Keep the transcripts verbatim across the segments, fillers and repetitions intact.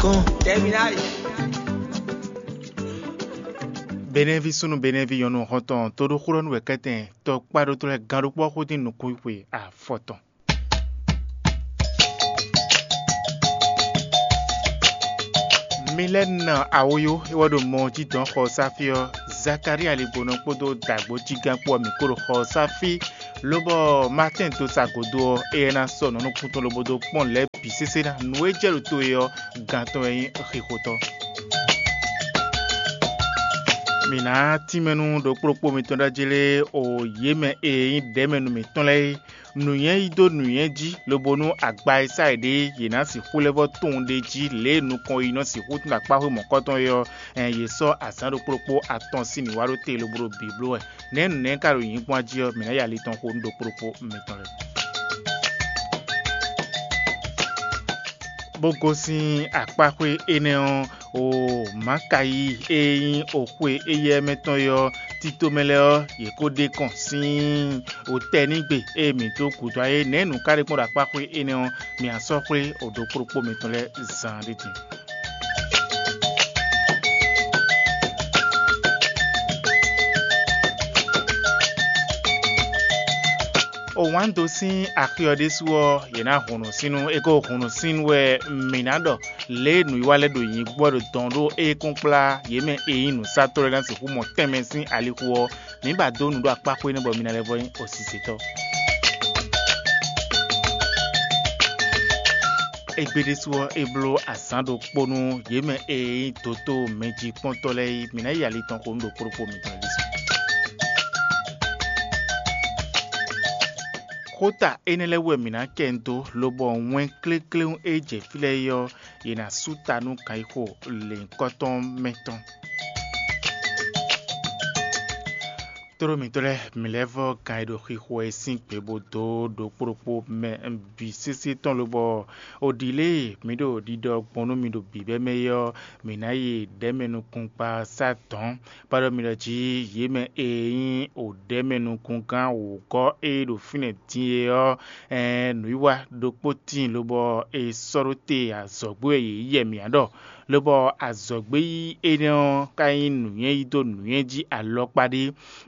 Con. Terminal. Benɛví súnnu Benɛví nyɔ̌nu xɔ́ntɔn toɖóxúɖɔ́nú wɛ kɛ́tɛn tɔkpá ɖótó lɛ́ɛ gán ɖokpó ɔ́ xódín nukúnxwe afɔtɔn. Mi lɛ́ na awoyó é wɛ ɖo mɔ jí dɔn xɔ sáfí ɔ́, Zakalía ligbonɔ kpódó dǎgbó jígán kpó ɔ́, mǐ kó ɖo xɔ sáfí, lobɔ Maatɛ́n dó sa gǒdo ɔ́, éyɛ́ ná sɔ́ nǔ nukúntɔn lobo dó kpɔ́n lɛ̌ bǐ sésé ná. Nǔ e jɛ ɖo to e ɔ́, gán tɔn wɛ nyí xixotɔ́. Mǐ ná tínmɛ nú ɖokpóɖokpó mitɔn ɖ'ajlé o yě mɛ e nyí ɖɛ̌mɛnu mǐtɔn lɛ́ɛ é. Nǔnywɛ́ yí dó nǔnywɛ́ jí, lobo nú agba e sá yě ɖe é, yě ná sixú lɛ́ vɔ́ tunwun ɖ'é jí lě e nukɔn yi nɔ sixú tunwun akpáxwé mɔ̌kɔtɔn é ɔ́, ɛn yě sɔ́ azǎn ɖokpó ɖokpó atɔn sín nǔ wa ɖó te lobo ɖo bǐ bló wɛ. Nɛ̌ nǔnɛ́ ka ɖo nyǐkɔ jí ɔ́, mǐ ná yi ali tɔn xo nú ɖokpó ɖokpó mitɔn lɛ́ɛ. Bó gosín akpáxwé énɛ́ ɔ́, o Makayi e nyí oxwe éyɛ́ mɛ tɔn é ɔ́, tito mɛ lɛ́ɛ ɔ́, yě kó ɖe kɔn sín otɛ́nígbe e mǐ dó gǔdo ayé nɛ̌ nǔ ka ɖe kpɔ́n ɖo akpáxwé énɛ́ ɔ́, mǐ ná sɔ́ xwlé o ɖokpó ɖokpó mitɔn lɛ́ɛ zan ɖé din. O wǎn dó sín axi ɔ́ ɖésú ɔ́, yě ná hun nǔsín nú é. Ko hun nǔsín wɛ mǐ ná ɖɔ lě e nǔwiwa lɛ́ɛ ɖo nyǐ gbɔ ɖo dɔn ɖó é kún kplá yě mɛ e nyí nǔsatɔ́ lɛ́ɛ ná sixú mɔ tɛnmɛ sín alixo ɔ́, mǐ ba dó nǔ ɖo akpá xwé nɛ́ bɔ mi ná lɛ́ vɔ nyí osisɛtɔ́. Égbé ɖésú ɔ́, é bló azǎn ɖokpó nú yě mɛ e nyí dǒtó mɛjikpɔ́ntɔ́ lɛ́ɛ é. Mǐ ná yi ali tɔn xo nú ɖokpó ɖokpó mitɔn lɛ́ɛ ɖésú. Xóta énɛ́ lɛ́ɛ wú wɛ mǐ ná kɛ dó, lobɔ wɛn klékléwún e jɛ fí lɛ́ɛ é ɔ́, yě ná sú ta nú ganxixo lěhunkɔtɔn mɛ tɔn. Tlóló mǐtɔn lɛ́ɛ, mǐ lɛ́ vɔ́ gan e ɖo xixo wɛ é sín gbe bó dó ɖokpó ɖokpó mɛ bǐ sésé tɔn, lobɔ o ɖi lě e mǐ ɖo ɖiɖɔ gbɔn nú mi ɖo bǐbɛ́ mɛ é ɔ́, mǐ ná yi ɖɛ̌mɛ nukúngbasá dɔ̌n. Bó ɖɔ mi ɖɔ jí yě mɛ e nyí o ɖɛ̌mɛ nukúngán wǒgɔ́ e ɖo fínɛ́ din é ɔ́, ɛɛn nǔwiwa ɖokpó tíin lobɔ è sɔ́ ɖó te azɔ̌gbó wɛ yě yí yɛ mǐ ǎ ɖɔ, lobɔ azɔ̌gbé yí énɛ́ ɔ́ ka nyí nǔnywɛ́ yí dó nǔnywɛ́ jí alɔkpa ɖé,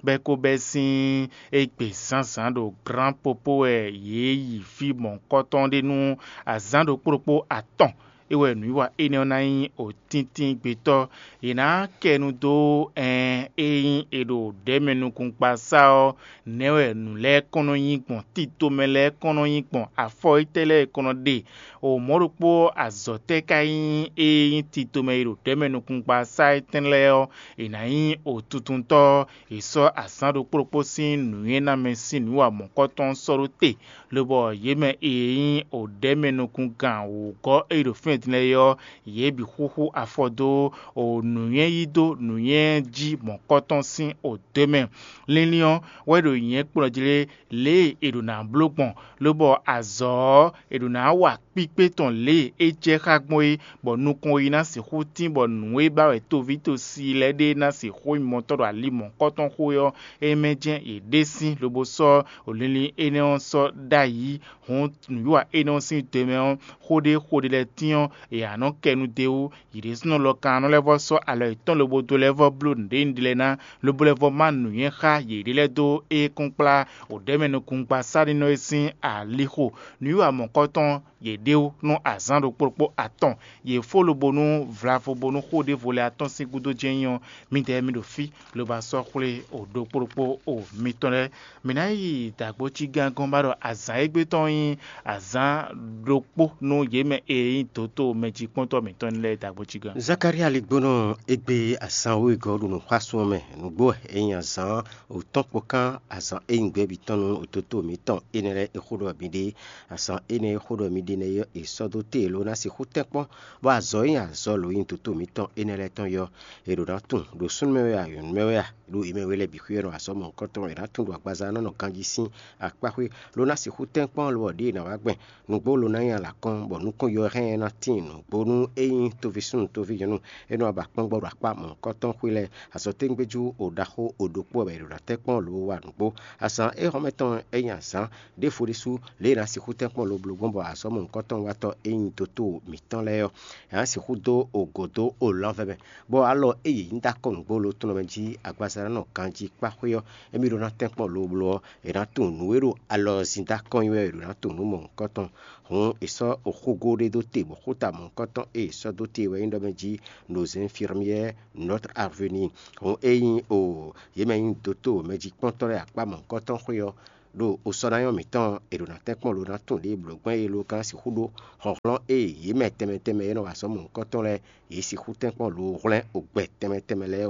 bɔ é ko bɛ́ sín égbé zǎnzǎn ɖo glán popó wɛ yě yi fí mɔ̌hunkɔtɔn ɖé nú azǎn ɖokpó ɖokpó atɔn. É wɛ nǔwiwa énɛ́ ɔ́ ná nyí òtíntín gbetɔ́. È nǎ kɛ nu dó ɛn e nyí è ɖo ɖɛ̌mɛ nukúngbasá ɔ́, nɛ̌ wɛ nǔ lɛ́ɛ kɔn nɔ nyí gbɔn? Tito mɛ lɛ́ɛ kɔn nɔ nyí gbɔn? Afɔ étɛ́ lɛ́ɛ è kɔn nɔ ɖe? O mɔ̌ ɖokpó azɔ̌ tɛ́ ka nyí e nyí tito mɛ e ɖo ɖɛ̌mɛ nukúngbasá étɛ́ lɛ́ɛ ɔ́, è nǎ nyí òtuntɔntɔ́? È sɔ́ azǎn ɖokpó ɖokpó sín nǔnywɛ́namɛ sín nǔ wa mɔ̌kɔtɔn sɔ́ ɖó te, lobɔ yě mɛ e nyí o ɖɛ̌mɛ nukúngán wǔgɔ́ e ɖo fínɛ́ din lɛ́ɛ é ɔ́, yě bǐ xúxú afɔ dó o nǔnywɛ́ yí dó nǔnywɛ́ jí mɔ̌kɔtɔn sín o dó mɛ. Linlin ɔ́ wɛ ɖo nyɛ̌ kplɔ́n jí lé, lě e è ɖǒ ná bló gbɔn, lobɔ azɔ̌ ɔ́, è ɖǒ ná wa kpíkpé tɔn lě e é jɛ xá gbɔn é, bɔ nukɔn yi ná sixú tín, bɔ nǔ e ba wɛ toví tosi lɛ́ɛ ɖe ná sixú nyí mɔtɔ́ ɖo ali mɔ̌kɔtɔn xo é ɔ́, é mɛ jɛ́n yě ɖe sín lobo sɔ́ linlin énɛ́ ɔ́ sɔ́ ɖ'ayǐ. Hǔn nǔwiwa énɛ́ ɔ́ sín te mɛ ɔ́, xó ɖé xó ɖé lɛ́ɛ tín ɔ́, è nǎ nɔ kɛ nu d'é wú. Yě ɖésúnɔ lɔ kan nɔ lɛ́ vɔ́ sɔ́ alɔ yětɔn lobo dó lɛ́ vɔ́ bló nǔɖé nyi ɖi lɛ́ɛ ná, lobo lɛ́ vɔ́ má nǔnywɛ́ xá yěɖée lɛ́ɛ dó ékúnkplá wǒɖɛ́mɛ nukúngbasánínɔ e sín alixo. Nǔwiwa mɔ̌kɔtɔn yě ɖe wú nú azǎn ɖokpó ɖokpó atɔn. Yě fó lobo nú vlavo bónú xó ɖěvo lɛ́ɛ atɔ́n sín gúdo jɛ́n nyí ɔ́, midɛɛ mi ɖo fí, lobo sɔ́ xwlé o ɖokpó ɖokpó o mitɔn lɛ́ɛ. Mǐ ná yi dǎgbócígán gɔ́n ba ɖɔ azǎn égbé tɔn nyí azǎn ɖokpó nú yě mɛ e nyí dǒtó mɛjikpɔ́ntɔ́ mǐtɔn lɛ́ɛ dǎgbócígán. Zakalía ligbónɔ égbé azǎn wegɔ́ ɖo nǔxwásún ɔ́ mɛ. Nǔgbó wɛ é nyí azǎn wǒtɔ́n kpokán azǎn e nyí gbɛ́bǐ tɔn nú dǒtó mǐtɔn énɛ́ lɛ́ɛ e xó ɖɔ mǐ ɖe. Azǎn énɛ́ e xó ɖɔ mǐ ɖe nɛ́ ɔ́, è sɔ́ dó te ló ná sixú tɛ́nkpɔ́n, bɔ azɔ̌ e nyí azɔ̌ lǒ nyi dǒtó mǐtɔn énɛ́ lɛ́ɛ tɔn yɔ́, è ɖǒ ná tunwun ɖo súnnu mɛ wɛ a, nyɔ̌nu mɛ wɛ a, ɖo yě mɛ we lɛ́ɛ bǐ xwíyɔ́ nɔ azɔ̌ mɔ̌hunkɔtɔn è nǎ tunwun ɖo agbaza ɔ́ nɔ ganjí sín akpáxwé, ló ná sixú tɛ́nkpɔ́n lobɔ ɖěe è nǎ wá gbɛn nǔgbó ló ná nyí alǎkɔ́n, bɔ nukɔn yɔhɛn ná tíin nǔgbó nú é nyí toví súnnu toví nyɔ̌nu é nɔ ba kpɔ́n gbɔ ɖo akpá mɔ̌hunkɔtɔn xwé lɛ́ɛ. Azɔ̌tégbéjú o ɖaxó o ɖokpó wɛ è ɖo ná tɛ́nkpɔ́n lǒ wa nǔgbó. Azǎn éhɔ́mɛ tɔn é nyí azǎn ɖěvo ɖésú lě e è nǎ sixú tɛ́nkpɔ́n lobló gbɔn bɔ azɔ̌ mɔ̌hunkɔtɔn watɔ́ e nyí dotóo mǐtɔn lɛ́ɛ ɔ́, è nǎ sixú dó ogo dó olɔ́nvɛ́ mɛ, bɔ alɔ e yě nyí dó akɔ nǔgbó lo tɔn mɛ jí agbaza ná nɔ ganjí kpá xwé ɔ́, émí ɖó ná tɛ́nkpɔ́n lobló ɔ́, è nǎ tunwun nǔ e ɖo alɔ zin dó akɔ nyi wɛ è ɖǒ ná tunwun nǔ mɔ̌hunkɔtɔn. Hǔn è sɔ́ oxúgó ɖé dó te bɔ xúta mɔ̌hunkɔtɔn e è sɔ́ dó te wɛ nyí ɖɔ mɛ jí: Nos infirmières, notre avenir. Hǔn ényí o yě mɛ nyí dotóo mɛjíkpɔ́ntɔ́ lɛ́ɛ akpá mɔ̌hunkɔtɔn xwé ɔ́, ɖo osɔ́nayɔ́ mǐtɔn e ɖo ná tɛ́nkpɔ́n lo ná tunwun ɖěe blǒ gbɛ́n é ló gán sixú ɖó hlɔ̌nhlɔ́n e yě mɛ tɛnmɛ tɛnmɛ e nɔ wa azɔ̌ mɔ̌hunkɔtɔn lɛ́ɛ, yě sixú tɛ́nkpɔ́n lo hwlɛ́n ogbɛ tɛnmɛ tɛnmɛ lɛ́ɛ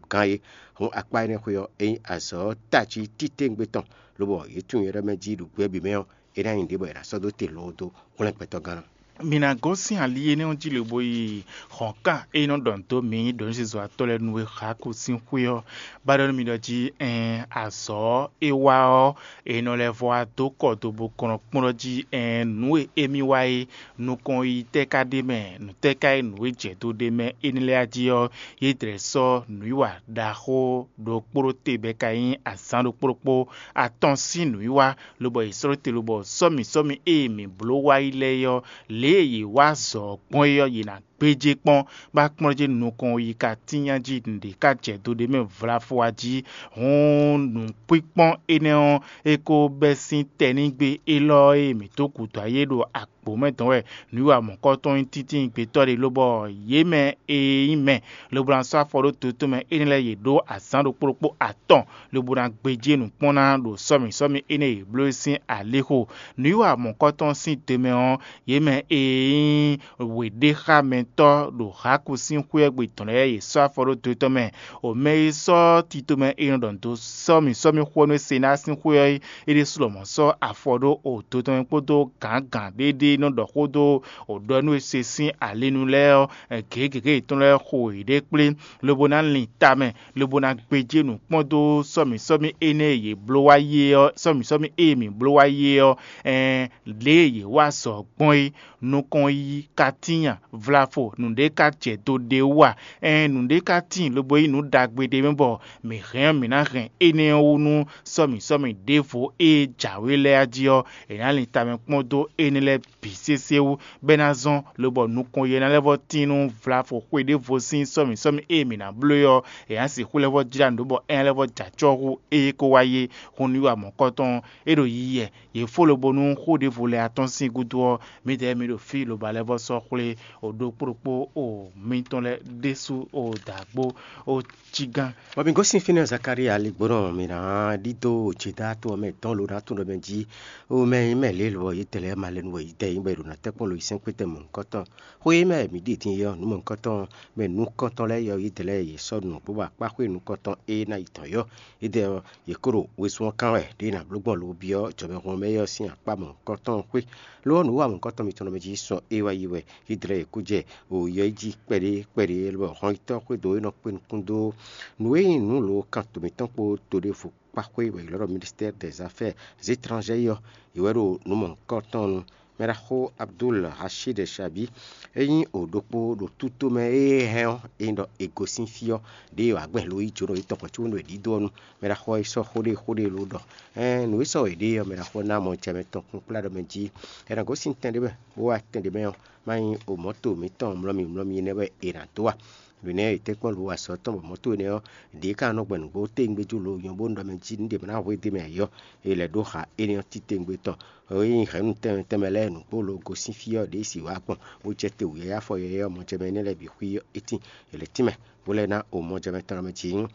gán é. Hǔn akpá énɛ́ xwé ɔ́, é nyí azɔ̌ tají titewungbe tɔn, lobɔ yě tunwun nyɛ ɖɔ mɛ jí ɖo gbɛ bǐ mɛ ɔ́, é ná nyí ɖě bɔ è nǎ sɔ́ dó te loo dó hwlɛ́n gbɛtɔ́gán ná. Mi ná gosín ali énɛ́ ɔ́ jí lobo yi hɔ̌nkan e nɔ ɖɔ nǔ dó mǐ ɖo nǔ zizɔ́watɔ́ lɛ́ɛ nu e Xaku sín xwé ɔ́, bá ɖɔ nú mi ɖɔ jí: Ɛɛn, azɔ̌ e wa ɔ́, e nɔ lɛ́ vɔ wá dó kɔ do bó kɔn nɔ kplɔ́n jí: Ɛɛn, nǔ e émí wa é, nukɔn yi tɛ́ ka ɖ'é mɛ? Nǔ tɛ́ ka nyí nǔ e jɛ do ɖ'é mɛ énɛ́ lɛ́ɛ jí ɔ́, yě dlɛ̌ sɔ́ nǔwiwa ɖaxó ɖokpó ɖó te bɔ é ka nyí azǎn ɖokpó ɖokpó atɔn sín nǔwiwa, lobɔ yě slɔ́ te lobɔ sɔ́mi sɔ́mi e mǐ bló wá yi lɛ́ɛ ɔ́, lě e yě wá zɔ gbɔn é ɔ́, yě ná gbéjé kpɔ́n, bó ná kplɔ́n jí nukɔn yi ka tínnya jí nǔɖé ka jɛ do ɖ'é mɛ vlafo a jí. Hǔn nǔkpínkpɔ́n énɛ́ ɔ́, é ko bɛ́ sín tɛnígbe élɔ́ e mǐ dó gǔdo ayé ɖo agbǒ mɛ dɔn wɛ nǔwiwa mɔ̌hunkɔtɔn nyí tíntín gbetɔ́ ɖé, lobɔ yě mɛ e nyí mɛ lobo ná sɔ́ afɔ ɖó dotó mɛ énɛ́ lɛ́ɛ yě ɖó azǎn ɖokpó ɖokpó atɔn, lobo ná gbéjé nǔ kpɔ́n ná ɖo sɔ́mi sɔ́mi énɛ́ e yě bló é sín alixo. Nǔwiwa mɔ̌hunkɔtɔn sín te mɛ ɔ́, yě mɛ e nyí wěɖéxámɛtɔ́ ɖo Haaku sín xwé ɔ́ gbe tɔn lɛ́ɛ, yě sɔ́ afɔ ɖó do tɔn mɛ. O mɛ e sɔ́ tito mɛ e nɔ ɖɔ nǔ dó sɔ́mi sɔ́mi xó ɔ́ nú Senáa sín xwé ɔ́, é ɖésú lɔmɔ̌ sɔ́ afɔ ɖó o do tɔn mɛ kpódó gǎngǎn ɖé ɖé nɔ ɖɔ xó dó o ɖɔ nú e se sín ali nu lɛ́ɛ ɔ́, gěgěgé yětɔn lɛ́ɛ xo yěɖée kplé, lobo ná lin tamɛ, lobo ná gbéjé nǔ kpɔ́n dó sɔ́mi sɔ́mi énɛ́ e yě bló wá yi é ɔ́, sɔ́mi sɔ́mi e mǐ bló wá yi é ɔ́, ɛɛn, lě e yě wa azɔ̌ gbɔn é. Nukɔn yí ka tíin a? Vlafo, nǔɖé ka jɛ do ɖé wú a? Ɛɛn, nǔɖé ka tíin lobo nyí nǔ ɖagbe ɖé mɛ bɔ mǐ hɛn ɔ́, mǐ ná hɛn énɛ́ ɔ́ wú nú sɔ́mi sɔ́mi ɖěvo e jǎwe lɛ́ɛ jí ɔ́, è nǎ lin tamɛ kpɔ́n dó énɛ́ lɛ́ɛ bǐ sésé wú, bɔ é ná zɔ́n, lobɔ nukɔn yɛ ná lɛ́ vɔ́ tín nú vlafo xwe ɖěvo sín sɔ́mi sɔ́mi e mǐ ná bló é ɔ́, è nǎ sixú lɛ́ vɔ́ jlá nǔ ɖó bɔ é ná lɛ́ vɔ́ jɛ acɔ́ hú ée ko wá yi é. Hun nú wa mɔ̌kɔtɔn ɔ́, é ɖo yiyi wɛ. Yě fó lobo nú xó ɖěvo lɛ́ɛ atɔ́n sín gúdo ɔ́, mǐdɛɛ mì ɖo fí lobo ná lɛ́ vɔ́ sɔ́ xwlé o ɖokpó ɖokpó o mitɔn lɛ́ɛ ɖésú o dǎgbó o cí gán. Bɔ mǐ gosín fínɛ́ Zakalía ligbónɔ mǐ ná ɖidó Judá to ɔ́ mɛ dɔn lo ná tunwun ɖɔ mɛ jí: O mɛ e nyí mɛ lě lo ɔ́, yědɛɛ lɛ́ɛ ma lɛ́ nu wɛ yědɛɛ nyí bɔ è ɖo ná tɛ́nkpɔ́n lo yi sɛ́nkpé tɛn mɔ̌hunkɔtɔn. Xó e mɛ mǐ ɖi din é ɔ́, nǔ mɔ̌hunkɔtɔn mɛ nukɔntɔn lɛ́ɛ é ɔ́, yědɛɛ lɛ́ɛ yě sɔ́ nǔ bó ba kpá xwé nukɔntɔn e ná yi tɔn yɔ́. Yědɛɛ ɔ́, yě ko ɖo wezun ɔ́ kán wɛ ɖě è nǎ bló gbɔn lo byɔ́ jɔmɛhunmɛ mɛ é ɔ́ sín akpá mɔ̌hunkɔtɔn xwé. Lo ɔ́, nǔ wa mɔ̌hunkɔtɔn mitɔn nɔ mɛ jí sɔ é wá yi wɛ. Yědɛɛ lɛ́ɛ yě kó jɛ o yɔ yi jí kpɛɖé kpɛɖé, lobɔ hɔnyitɔ́ xwédo e nɔ kpé nukún dó nǔ e nyí nǔ lo kan to mǐtɔn kpó to ɖěvo kpá xwé bɔ è ylɔ́ ɖɔ Ministère des Affaires Étrangères ɔ́, yě wɛ ɖo nǔ mɔ̌hunkɔtɔn nu. Mɛɖaxó Abdul Hashid Shabi, é nyí o ɖokpó ɖo tútomɛ e hɛn ɔ́, é nyí ɖɔ è gosín fí ɔ́, ɖěe wǎ gbɛn lo yí jǒnɔ yětɔn hwɛ̌ có nú è ɖidó ɔ́ nu. Mɛɖaxó ɔ́ yi sɔ́ xó ɖé xó ɖé lo ɖɔ: Ɛɛn, nǔ e sɔ́ è ɖe ɔ́, mɛɖaxó ná mɔ jɛ mɛ tɔn kún kplá ɖɔ mɛ jí. È nǎ gosín tɛn ɖé mɛ, bó wá tɛn ɖě mɛ ɔ́, má nyí o mɔ̌to mǐtɔn mlɔ́mi mlɔ́mi énɛ́ wɛ è nǎ dó a? Nǔ énɛ́ ɔ́, è tɛ́nkpɔ́n lo wa azɔ̌ tɔn bɔ mɔ̌to énɛ́ ɔ́, ɖě ká nɔ gbɛn nǔgbó téwúngbéjú lo nyɔ̌ bó ɖɔ mɛ jí nǔɖé ma ná hwedó mɛ ǎ ɔ́, è lɛ̌ ɖó xa énɛ́ ɔ́ titewungbe tɔn. Ée nyí hɛ̌nnu tɛnmɛ tɛnmɛ lɛ́ɛ nǔgbó lo gosín fí ɔ́ ɖě si wǎ gbɔn, bó jɛ te wǔyáyá afɔ yɔ̌yɔ́ mɔjɛmɛ énɛ́ lɛ́ɛ bǐ xwí ɔ́, é tíin. È lɛ̌ tínmɛ, bó lɛ́ ná o mɔjɛmɛ tɔn mɛ jí.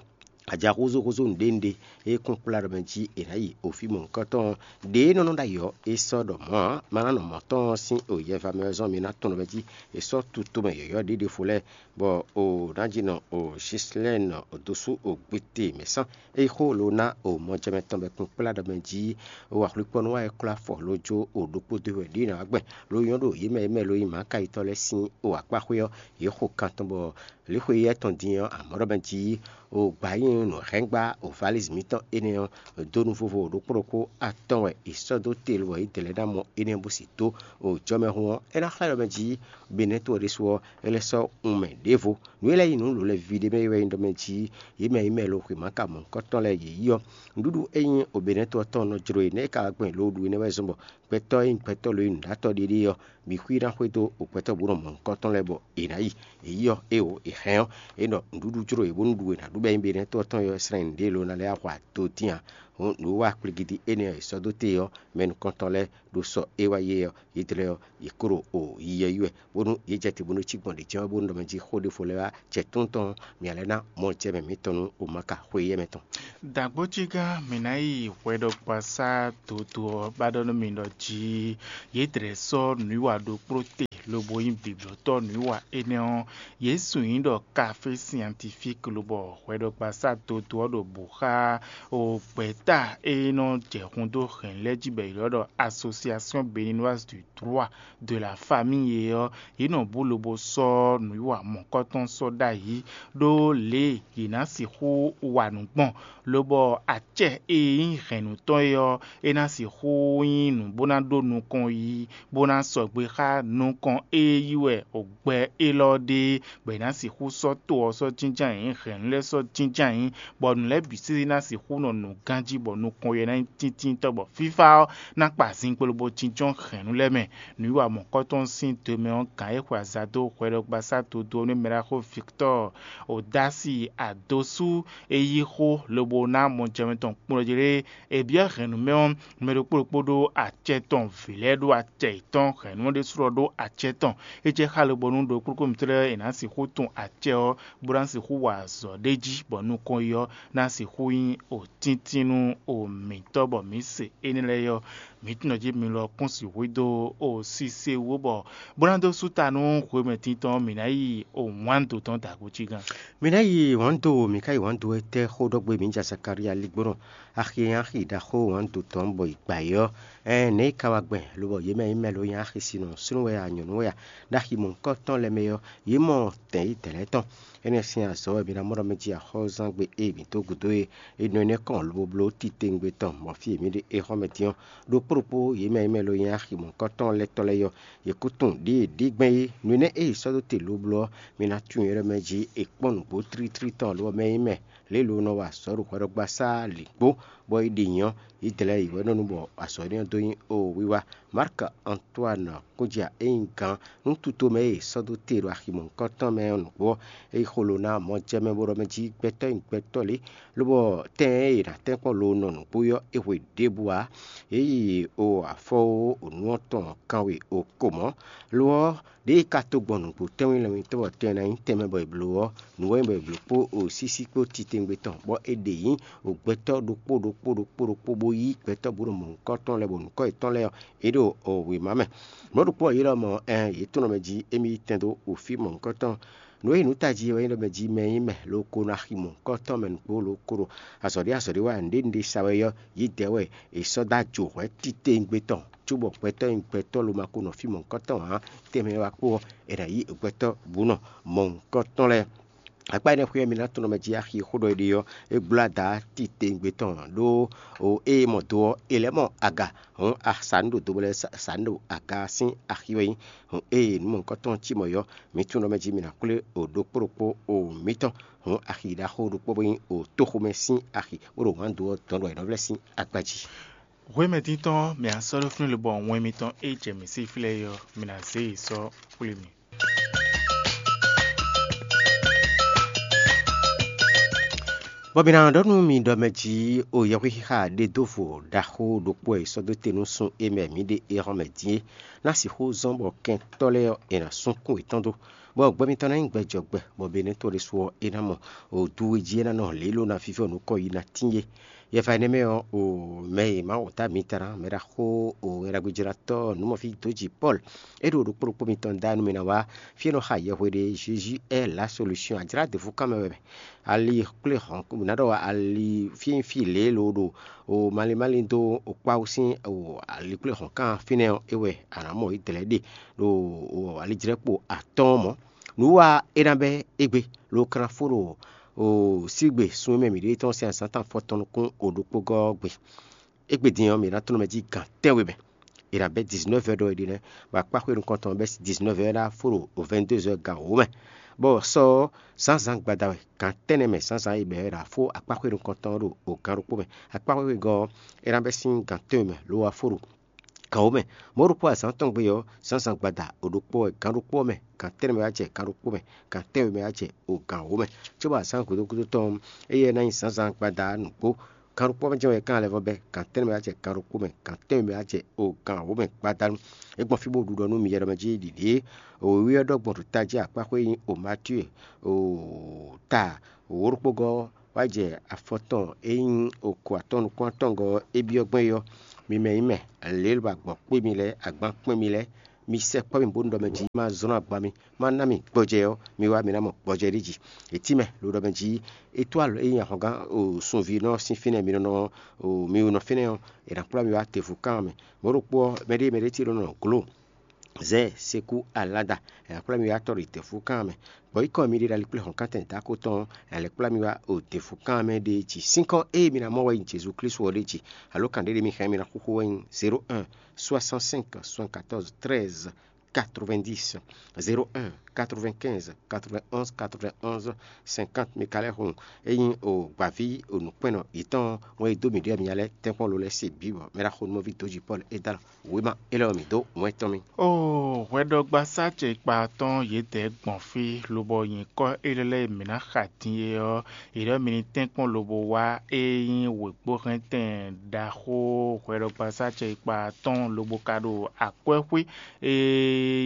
Aja húzúhúzú nǔɖé nǔɖé e kún kplá ɖɔ mɛ jí è nǎ yi o fí mɔ̌hunkɔtɔn ɔ́, ɖě e nɔ nɔ ɖ'ayǐ ɔ́, é sɔ́ ɖɔ mɔ̌ ǎ. Maná nɔ mɔ̌ tɔn ɔ́ sín o yɛva mɛ ɔ́ zɔ́n mi ná tunwun ɖɔ mɛ jí è sɔ́ tutomɛ yɔ̌yɔ́ ɖé ɖěvo lɛ́ɛ, bɔ o ná jí nɔ o Zislɛ́ɛn dosú o gbete mɛ sán. É yi xó lo ná o mɔjɛmɛ tɔn bɔ è kún kplá ɖɔ mɛ jí o axwlikpɔ́nú wá yi klɔ́ afɔ lo jó o ɖokpó dó wɛ ɖě nǎ wá gbɛn lo nyɔ́ ɖo yě mɛ e mɛ lo nyí Makáyitɔ́ lɛ́ɛ sín o akpáxwé ɔ́, yě xo kan tɔn bɔ lǐxweyíyá tɔn din ɔ́, amɔ̌ ɖɔ mɛ jí o gbǎ nyi nǔhɛngba o valízi mǐtɔn énɛ́ ɔ́ dó nú vovo ɖokpó ɖokpó atɔn wɛ è sɔ́ dó te lobɔ yě dlɛ̌ ná mɔ énɛ́ bó sì dó o jɔmɛhun ɔ́, é ná xlɛ́ ɖɔ mɛ jí Benɛ́to ɔ́ ɖésú ɔ́, é lɛ́ sɔ́ wun mɛ ɖěvo. Nǔ e lɛ́ nyí nǔ lǒlɛ́ví ɖé mɛ é wɛ nyí ɖɔ mɛ jí yě mɛ e nyí mɛ e ɖo xwěma ka mɔ̌hunkɔtɔn lɛ́ɛ yě yí ɔ́, nǔɖuɖu e nyí o Benɛ́to ɔ́ tɔn nɔ jló e nɛ́ é ka wá gbɔn è lǒ ɖu énɛ́ wɛ zɔ́n bɔ gbɛtɔ́ e nyí gbɛtɔ́ lǒ e nyí nǔɖatɔ́ ɖé ɖé ɔ́, bǐ xwí ná xwedó o gbɛtɔ́ bǔ nɔ mɔ̌hunkɔtɔn lɛ́ɛ bɔ è nǎ yi. È yí ɔ́, é o è hɛn ɔ́, é ɖɔ nǔɖuɖu jló yě bónú ɖu è nǎ ɖu bɔ é nyí Benɛ́to ɔ́ tɔn ɔ́, slɛ́n nǔɖé lǒ ná lɛ́ wá hu ato dín ǎ. Hǔn nǔ wa kplígídí énɛ́ e è sɔ́ dó te ɔ́, mɛ nukɔntɔn lɛ́ɛ ɖo sɔ é wá yé ɔ́, yě tlɛ ɔ́, yě ko ɖo o yiyi ɛ yi wɛ, bónú yě jɛ te bónú é cí gbɔn ɖě jɛ́n wɛ bónú ɖɔ mɛ jí xó ɖěvo lɛ́ɛ wá jɛ tún tɔn, mǐ ǎ lɛ́ ná mɔ jɛ mɛ mǐtɔn nú o ma ka xwé éyɛ́ mɛ tɔn. Dǎgbójígán mǐ ná yi hwɛɖɔgbasá dodó ɔ́ ba ɖɔ nú mi ɖɔ jí yě dlɛ̌ sɔ́ nǔwiwa ɖokpló te lobo nyí biblɔtɔ́ nǔwiwa énɛ́ ɔ́, yě sun nyí ɖɔ kafé siantifík lobɔ hwɛɖɔgbasá dodó ɔ́ ɖo bǔ xá o gbɛ̌ta e nɔ jɛ hun dó hɛ̌n lɛ́ɛ jí bɔ è ylɔ́ ɖɔ Association Béninoise du Droit de la Famille é ɔ́, yě nɔ bú lobo sɔ́ nǔwiwa mɔ̌kɔtɔn sɔ́ ɖ'ayǐ ɖó lě e yě ná sixú wa nǔ gbɔn, lobɔ acɛ e nyí hɛ̌nnu tɔn é ɔ́, é ná sixú nyí nǔ bó ná ɖó nukɔn yí, bó ná sɔgbe xá nukɔn e yí wɛ gbɛ élɔ́ ɖe, bɔ è nǎ sixú sɔ́ to ɔ́ sɔ́ jínjɔ́n ayǐ, hɛ̌nnu lɛ́ɛ sɔ́ jínjɔ́n ayǐ, bɔ nǔ lɛ́ɛ bǐ sésé ná sixú nɔ nǔ ganjí, bɔ nukɔn yɛ ná nyí tíntíntɔ́, bɔ fífá ɔ́ ná kpa zinkpo lobo jínjɔ́n hɛ̌nnu lɛ́ɛ mɛ. Nǔwiwa mɔ̌kɔtɔn sín do mɛ ɔ́, gǎn e xwe aza dó hwɛɖɔgbasá dodó ɔ́ nú mɛɖaxó Victɔ́ɔ Odási Adosú é yí xó lobo ná mɔjɛmɛ tɔn kplɔ́njlé. È byɔ́ hɛ̌nnu mɛ ɔ́, mɛ ɖokpó ɖokpó ɖó acɛ tɔn, vǐ lɛ́ɛ ɖó acɛ yětɔn, hɛ̌nnu ɔ́ ɖésú ɔ́ ɖó acɛ tɔn. É jɛ xá lobonu ɖokpó ɖokpó mǐtɔn lɛ́ɛ è nǎ sixú tun acɛ ɔ́, bó ná sixú wa azɔ̌ ɖ'é jí, bɔ nukɔn yi ɔ́ ná sixú nyí o tíntín nú o mǐtɔn, bɔ mǐ se énɛ́ lɛ́ɛ ɔ́, mǐ tunwun jí mi lɔ kún sixú dó o sise wú, bɔ bó ná dó sú ta nú hwemɛ tintɔn ɔ́, mǐ ná yi o wǎn do tɔn dǎgbo cí gán. Mǐ ná yi wǎn do, mǐ ka yi wǎn do wɛ tɛ́ xó ɖɔ gbé mǐ ja Zakalía ligbónɔ axi e nyí axi ɖaxó wǎn do tɔn bɔ è gbǎ é ɔ́, ɛɛn nɛ̌ è ka wá gbɛn, lobɔ yě mɛ e nyí mɛ lǒ nyí axi sinɔ súnnu wɛ a nyɔ̌nu wɛ a, ɖo axi mɔ̌hunkɔtɔn lɛ́ɛ mɛ ɔ́, yě mɔ tɛ̌n yi dɛ̌ lɛ́ɛ tɔn. Énɛ́ sín azɔ̌ wɛ mi ná mɔ ɖɔ mɛ jí axɔ́zán gbe e mǐ dó gǔdo e è nɔ énɛ́ kɔn lobo bló titewungbe tɔn, bɔ fí e mǐ ɖe é xɔ́ mɛ din ɔ́, ɖokpó ɖokpó yě mɛ e nyí mɛ lǒ nyí axi mɔ̌hunkɔtɔn lɛ́ɛ tɔn lɛ́ɛ é ɔ́, yě kú tunwun ɖěe ɖě gbɛn é. Nǔ énɛ́ e è sɔ́ dó te lobló ɔ́, mi ná tunwun yě ɖɔ mɛ jí è kpɔ́n nǔgbó tlítlí tɔn, lobɔ mɛ e nyí mɛ lě e lo nɔ wa azɔ̌ ɖo hwɛɖɔgbasá lǐgbó, bɔ é ɖi nyǐ ɔ́, yě dlɛ̌ yě wɛ nɔ nu bɔ azɔ̌ énɛ́ ɔ́ dó nyí o wiwa. Mark Antoine Kúnjia e nyí gǎn nú tutomɛ e è sɔ́ dó te ɖo axi mɔ̌hunkɔtɔn mɛ ɔ́ nǔgbó ɔ́, é yí xó lo ná mɔjɛmɛ bó ɖɔ mɛ jí gbɛtɔ́ e nyí gbɛtɔ́ lě, lobɔ tɛn e è nǎ tɛ́nkpɔ́n lo nɔ nǔgbó ɔ́, é hwe ɖěbǔ ǎ. Yě yi o afɔ o nǔ ɔ́ tɔn kanwe o ko mɔ̌. Lo ɔ́, ɖěe ka to gbɔn nǔgbó tɛ́nwí lɛ́nwítɔ́ bɔ tɛn ná nyí tɛnmɛ bɔ è blǒ ɔ́, nǔ wɛ nyí bɔ è blǒ kpó o sísí kpó titewungbe tɔn, bɔ è ɖe nyǐ o gbɛtɔ́ ɖokpó ɖokpó ɖokpó ɖokpó bó yí gbɛtɔ́ bó ɖo mɔ̌hunkɔtɔn lɛ́ɛ bɔ nǔkɔ yětɔn lɛ́ɛ ɔ́, yě ɖo o wěma mɛ. Mɔ̌ ɖokpó ɔ́, yě lɔ mɔ ɛn yě tunɔ mɛ jí émí yi tɛn dó o fí mɔ̌hunkɔtɔn. Nǔ e nyí nǔ tají é wɛ nyí ɖɔ mɛ jí mɛ e nyí mɛ ló ko ná xi mɔ̌hunkɔtɔn mɛ nǔgbó ló ko ɖo azɔ̌ ɖé azɔ̌ ɖé wa nǔɖé nǔɖé sa wɛ ɔ́, yě dɛ̌ wɛ è sɔ́ dó ajo hwɛ̌ titewungbe tɔn, cóbɔ gbɛtɔ́ e nyí gbɛtɔ́ lo ma ko nɔ fí mɔ̌hunkɔtɔn ǎ, tɛnmɛ wá kpó ɔ́, è nǎ yí gbɛtɔ́ bǔ nɔ mɔ̌hunkɔtɔn lɛ́ɛ. Akpá énɛ́ xwé ɔ́, mi ná tunɔ mɛ jí axi e xó ɖɔ è ɖe ɔ́, é gbló ada titewungbe tɔn ɖó o ée mɔ do ɔ́, è lɛ́ mɔ aga, hǔn asǎ nǔ ɖo do bɔ lɛ́ɛ sǎ nǔ ɖo aga sín axi wɛ nyí. Hǔn ée nǔ mɔ̌hunkɔtɔn cí mɔ̌ ɔ́, mi tunɔ mɛ jí mi ná xwlé o ɖokpó ɖokpó o mǐtɔn, hǔn axi ɖaxó ɖokpó bó nyí o tóxomɛ sín axi bó ɖo wǎn do ɔ́ dɔn ɖo ayǐnɔvlɛ́ sín akpá jí. Hwemɛ tíntɔ́n ɔ́, mǐ ná sɔ́ ɖó fínɛ́ lobɔ wɛn mitɔn e jɛ mǐ sí flɛ́ é ɔ́, mi ná zé yi sɔ́ xwlé mì. Bɔ mǐ ná ɖɔ nú mi ɖɔ mɛ jí o yɛhwexixa ɖe dó vo ɖaxó ɖokpó e è sɔ́ dó te nú sun e mɛ mǐ ɖe é hɔn mɛ din é ná sixú zɔ́n bɔ kɛntɔ́ lɛ́ɛ ɔ́, è nǎ súnkún yětɔn dó, bɔ gbɛ mitɔn ná nyí gbɛjɔgbɛ, bɔ Benɛ́to ɖésú ɔ́, é ná mɔ o du e jí é ná nɔ lě ló ná vívɔ́ nukɔn yi ná tín é. Yɛfa énɛ́ mɛ ɔ́, o mɛ e Mawu ta mitɔn ná mɛ ɖaxó o ŋɛ ɖagbe jlátɔ́ nǔmɔfí dó jǐ Pɔ́lu, é ɖo ɖokpó ɖokpó mitɔn da nú mi ná wá fí e nɔ xa yɛhwe ɖe Jésus est la solution, a jlá ɖěvo kan mɛ wɛ mɛ. Ali kplé hɔn, ná ɖɔ ali fínfín lě e lo ɖo o malín malín dó o kpáwú sín o ali kplé hɔn kan fínɛ́ ɔ́, é wɛ a nǎ mɔ yi dlɛ̌ ɖe ɖo o alijlɛ́kpo atɔ́ɔ́n mɔ̌. Nǔ wa é ná bɛ́ égbé, lo ka ná fó ɖo o sígbe sun e mɛ mǐ ɖe tɔn sín azǎn tɔn afɔtɔn nukún o ɖokpó gɔ́ ɔ́ gbe. Égbé din ɔ́, mǐ ná tɔ́n mɛ jí gan tɛ́nwe mɛ. È nǎ bɛ́ dizinɔ́ɔ́v ɔ́ ɖɔ è ɖe nɛ́, bɔ akpáxwé nukɔn tɔn ɔ́ bɛ́ sín dizinɔ́ɔ́v ɔ́ ná fó ɖo vɛ̌ndézɔ́ gan wǒ mɛ. Bɔ sɔ ɔ́, zǎnzǎn gbada wɛ, gan tɛ́nnɛ mɛ zǎnzǎn e bɛ̌ è nǎ fó akpáxwé nukɔn tɔn ɔ́ ɖo gan ɖokpó mɛ. Akpáxwé wegɔ́ ɔ́, é ná bɛ́ sín gan tɛ́nwe mɛ, lo wá fó ɖo gan wǒ mɛ. Mɔ̌ ɖokpó azǎn tɔn gbe ɔ́, zǎnzǎn gbada o ɖokpó wɛ, gan ɖokpó ɔ́ mɛ, gan tɛ́nnɛ mɛ wá jɛ gan ɖokpó mɛ, gan tɛ́nwe mɛ wá jɛ o gan wǒ mɛ. Cóbɔ azǎn gǔdo gúdo tɔn ɔ́, éyɛ́ ná nyí zǎnzǎn gbada nǔgbó. Gan ɖokpó ɔ́ mɛ jɛ́n wɛ é ka lɛ́ vɔ́ bɛ́, gan tɛ́nnɛ mɛ wá jɛ gan ɖokpó mɛ, gan tɛ́nwe mɛ wá jɛ o gan wǒ mɛ gbadanu. É gbɔn fí bó ɖu ɖɔ nú mi yɛ ɖɔ mɛ jí ɖiɖě. Wěwé ɔ́ ɖɔ gbɔn ɖo tají akpáxwé e nyí o Matíu, o ta wǒ ɖokpó gɔ́ wá jɛ afɔ tɔn e nyí okǒ atɔn nukún atɔngɔ́ ɔ́, é byɔ́ gbɛn é ɔ́, mi mɛ nyí mɛ lě e lo agbɔ̌ kpé mi lɛ́ɛ, agban kpé mi lɛ́ɛ, mi sɛkpɔ́ mì bónú ɖɔ mɛ jí ma zlɔ́n agban mi, ma ná mi gbɔjɛ ɔ́, mi wá mi ná mɔ gbɔjɛ ɖé jí. È tínmɛ lo ɖɔ mɛ jí é tó alɔ é nyí ahɔngán sunvínɔ sín fínɛ́ mi nɔ nɔ mi nɔ fínɛ́ ɔ́, è nǎ kplá mi wá tevu kan mɛ. Mɔ̌ ɖokpó ɔ́, mɛɖée mɛɖée ce nɔ nɔ glǒ zɛ sekú alada, è nǎ kplá mi wá tɔ́ ɖo tevu kan mɛ. Bɔ yi kɔn mi ɖe ɖo ali kplé hɔn kántɛn dako tɔn, è lɛ́ kplá mi wá o tevu kan mɛ ɖe jí. Sínkɔ ée mi ná mɔ wɛ nyí Jezu Klísu ɔ́ ɖe jí, alo kan ɖé ɖé mi xɛn mi ná xúxú wɛ nyí zéro un soixante-cinq soixante-quatorze treize quatre-vingt-dix, zéro un quatre-vingt-quinze quatre-vingt-onze quatre-vingt-onze cinquante. Mi ka lɛ́ hun ényí o gbǎví o nǔkpɛ́nnɔ yětɔn wɛn e dó mǐ ɖe mi nya lɛ́ɛ tɛ́nkpɔ́n lo lɛ́ɛ se bǐ bɔ mɛ ɖaxó nú mɔví dǒ jí Pɔ́lu é dó alɔ wěma élɔ́ ɔ́ mǐ dó wɛn tɔn mì. Oo, hwɛɖɔgbasá ce kpa tɔn yědɛɛ gbɔn fí, lobɔ nyǐkɔ élɔ́ lɛ́ɛ e mǐ ná xa din é ɔ́, è ɖɔ mi ní tɛ́nkpɔ́n lobo wá é nyí wěgbóhɛntɛn ɖaxó hwɛɖɔgbasá ce kpa tɔn lobo ka ɖo akwɛ́xwé e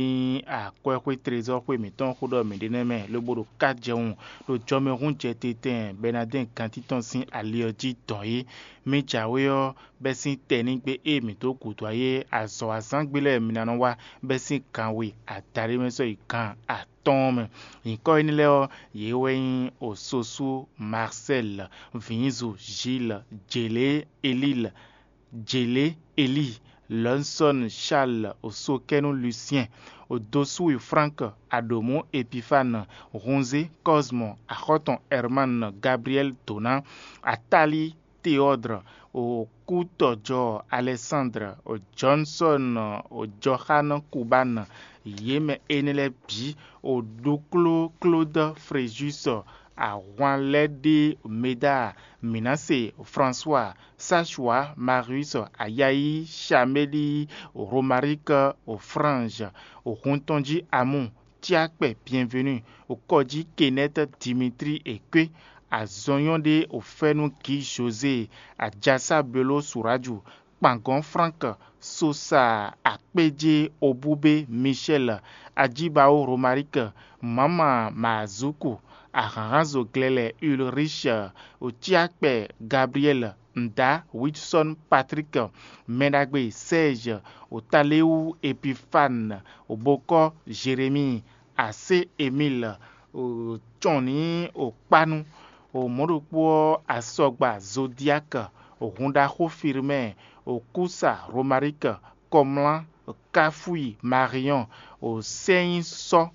nyí akwɛ́xwé trezɔ́xwé mǐtɔn xó ɖɔ mǐ ɖe nɛ́ mɛ, lobo ɖo ká jɛwun ɖo jɔmɛhún jɛ titɛn bɔ è nǎ dɛn gantí tɔn sín ali ɔ́ jí dɔn é. Mi jǎwe ɔ́, bɛ́ sín tɛnígbe e mǐ dó gǔdo ayé azɔ̌ azǎngbe lɛ́ɛ mi ná nɔ wá bɛ́ sín gan we adaɖé mɛ sɔ́ yi gan atɔ́ɔ́n mɛ. Nyǐkɔ énɛ́ lɛ́ɛ ɔ́, yě wɛ nyí Ososú Marcel, Vǐnzu Gilles, Jělé Elile, Jělé Eli, Lɔnsɔ́n Charles, Osokɛ́nú Lucien, Odosúwi Frank, Aɖǒmú Epifane, Hunzé Cosmo, Axɔ́tɔn Herman, Gabriel Dona, Atali Théodre, Okútɔjɔ Alexandre, Johnson, Jɔxan Kuban, yě mɛ énɛ́ lɛ́ɛ bǐ, Oɖukló Claude Fréjus, Ahwanlɛ́ɖé Médard, Mǐnase François, Sachua Marius, Ayayi Chaméli, Romaric Frange, Huntɔnji Amu, Tiakpɛ Bienvenu, Kɔjí Kenneth Dimitri Ekwe, Azɔnyɔ́ɖé Ofɛ́nu Gǐ José, Ajasa Belo Suraju, Kpangɔn Frank, Sosa Akpéjé Obúbé Michel, Ajíbaó Romaric, Mǎma Mazuku, Ahǎnhánzo Glɛlɛ Ulrich, Otíakpɛ Gabriel, Nda Wilson Patrick, Mɛɖagbe Serge, Otaléwu Epifane, Obokɔ Jérémie, Asé Emile, Cɔnní Okpánu, mɔ̌ ɖokpó ɔ́ Asɔgba Zodiak, Hunɖaxó Firmɛ, Okúsa Romaric, Kɔmlá Káfui Marion, Sɛ́nyísɔ́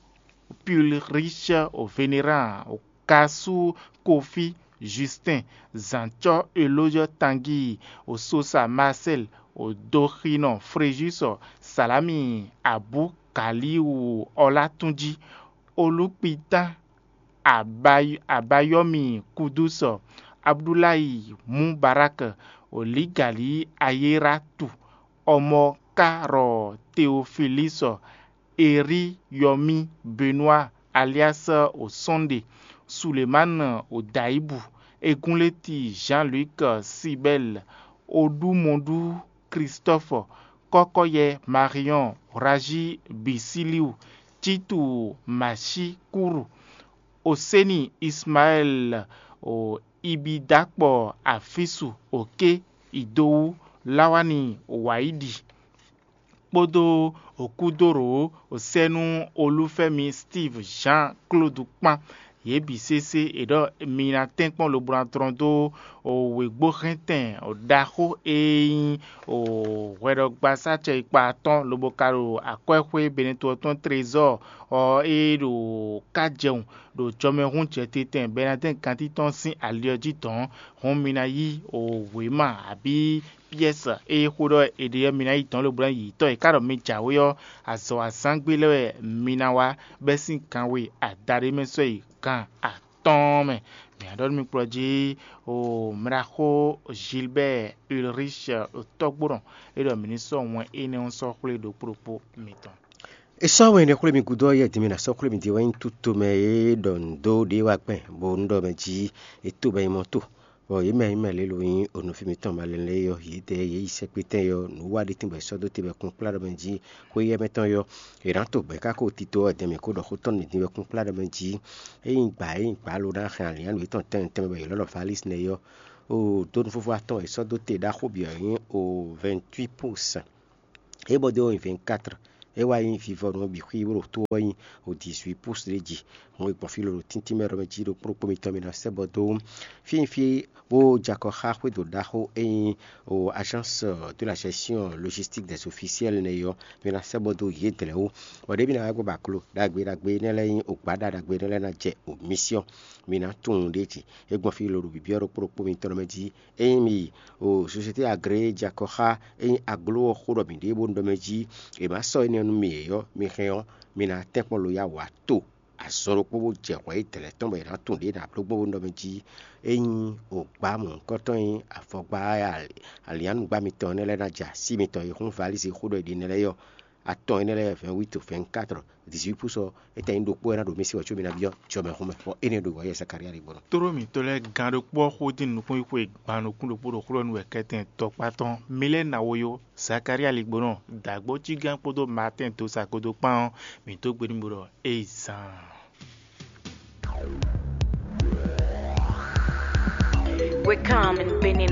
Pulrich, Vénéran, Kasú Kofi Justin, Zǎncɔ́ Elóyɔ Tangi, Ososa Marcel, Doxinɔ Fréjus, Salami Abú Kaliwu Ɔlátúnjí, Olúkpitán Abayɔ́mi Kudúsɔ, Abdulayi Mubarak, Olígalí Ayératu, Ɔmɔkárɔ Teofilísɔ, Erí Yɔmí Benua alias Osɔ́nɖe, Sulemánɔ Odayibu, Egúnléti Jean-Luc Sibɛl, Odúmɔdú Kristɔ́fɔ, Kɔ́kɔ́yɛ Mariɔn, Rají Bisíliu, Títu Mashikúru, Oséni Ismaɛl, Ibidakpɔ Afisu, Oké Idowú, Lawani Waidi kpódó Okúdóró Osɛ́nú Olúfɛ́mi Steve Jean Claude kpán. yě bǐ sésé è ɖɔ mi ná tɛ́nkpɔ́n lobo ná tlɔ́n dó wěgbóhɛntɛn ɖaxó e nyí hwɛɖɔgbasá cɛyikpa atɔ́ɔ́n lobo ka ɖo akwɛ́xwé Benɛto ɔ́ tɔn trezɔ́ɔ ɔ́ e ɖo ká jɛwun ɖo jɔmɛhún jɛtɛn Bɛnadɛ́n gantín tɔn sín ali ɔ́ jí dɔ̌n. Hɔn mi ná yí wěma abǐ pyɛ́sɛ e xó ɖɔ è ɖe ɔ́ mi ná yí dɔ̌n lobo ná yi tɔ́ e ká ɖɔ mi jǎwe ɔ́, azɔ̌ azǎngbe lɛ́ɛ wɛ mi ná wá bɛ́ sín gan we adaɖé mɛ sɔ́ yi gan atɔ́ɔ́n mɛ. Mǐ ná ɖɔ nú mi kplɔ́ jí o mlaxó Gilbert Ulrich tɔ́gbónɔ é ɖɔ mǐ ní sɔ́ wɛn énɛ́ ɔ́ sɔ́ xwlé ɖokpó ɖokpó mitɔn. È sɔ́ wɛn énɛ́ xwlé mi gúdo ɔ́, yɛ din mi ná sɔ́ xwlé mi din wɛ nyí tutomɛ e ɖɔ nǔ dó ɖě wá gbɛn, bó nú ɖɔ mɛ jí è to bɔ nyí mɔ to. Bɔ yě mɛ nyí mɛ lě lo nyí onɔví mitɔn malɛn lɛ́ɛ yɔ, yědɛɛ yě yi sɛkpétɛn yɔ, nǔ wa ɖé tɛ́nbɔ è sɔ́ dó te bɔ kún kplá ɖɔ mɛ jí. Xwé yɛ mɛ tɔn yɔ, è nǎ to gbɛ̌ ká ko tito ɔ́ dɛn mɛ kó ɖɔ xó tɔn nǔ din wɛ kún kplá ɖɔ mɛ jí. Ényí gbǎ ényí gbǎ lo ná hɛn alǐnnyánú yětɔn tɛnmɛ tɛnmɛ bɔ yě lɔ́ ɖɔ Valís nɛ́ yɔ, o dónúfúfú atɔn è sɔ́ dó te ɖaxó bǐ ɔ́ nyí o vɛ̌ntwí pus. É bɔ dó nyi vɛ̌nkátrɔ, é wá nyí vivɔnu ɔ́ bǐ xwí bó ɖo tó ɔ́ nyi o dixwít pus ɖé jí. Hɔn e gbɔn fí lolo tíntín mɛ ɖɔ mɛ jí ɖokpó ɖokpó mitɔn mi ná sɛ́ bɔ dó fínfín bó jɛ akɔ xá xwédo ɖaxó e nyí o agence de la gestion logistique des officiels nɛ ɔ́, mi ná sɛ́ bɔ dó yě dlɛ̌ wú. Bɔ ɖěbí ná wá gbɔ bɔ aklo ɖagbe ɖagbe énɛ́ lɛ́ɛ nyí o gbǎɖa ɖagbe énɛ́ lɛ́ɛ ná jɛ o mission. Mi ná tunwun ɖ'é jí. É gbɔn fí lolo bǐbí ɔ́ ɖokpó ɖokpó mitɔn mɛ jí. Ényí mi yi o société agréé jɛ akɔ xá ényí aglo ɔ́ xó ɖɔ mǐ ɖe bó ɖɔ mɛ jí è má sɔ́ énɛ́ nú mi ě ɔ́, mi hɛn ɔ́, mi ná tɛ́nkpɔ́n lo yá wǎ to azɔn ɖokpó bó jɛ hwɛ yi dɛ̌lɛ́ tɔn bɔ è nǎ dó gbɔn bó ɖɔ mɛ jí. Ényí o gbǎ mɔ̌hunkɔtɔn nyí avɔgbá alǐanúgbá mitɔn énɛ́ lɛ́ɛ ná jɛ así mitɔn e hún valízi xó ɖɔ è ɖe énɛ́ lɛ́ɛ ɔ́, atɔn énɛ́ lɛ́ɛ vɛ̌nwíto vɛ̌nkátrɔ dixwít pus ɔ́, é tɛ́ nyí ɖokpó wɛ ná ɖo mɛ sí wɛ có mi ná byɔ́ jɔmɛhúnmɛ, bɔ énɛ́ ɖo wǎ yɛ Zakalía ɖígbɔ́ nɔ. Tlóló mǐtɔn lɛ́ɛ gán ɖokpó ɔ́ xó dín nukúnxwixwe gban nukún ɖokpó ɖo xlɔ́ nú wɛ kɛ́tɛn tɔkpá tɔn. Mi lɛ́ ná wo yó, Zakalía ligbónɔ, dǎgbó cí gán kpódó Maatɛ́n dó sa kpódó kpán ɔ́, mǐ dó gbe nú mi ɖɔ é yi zaan. We come in Benin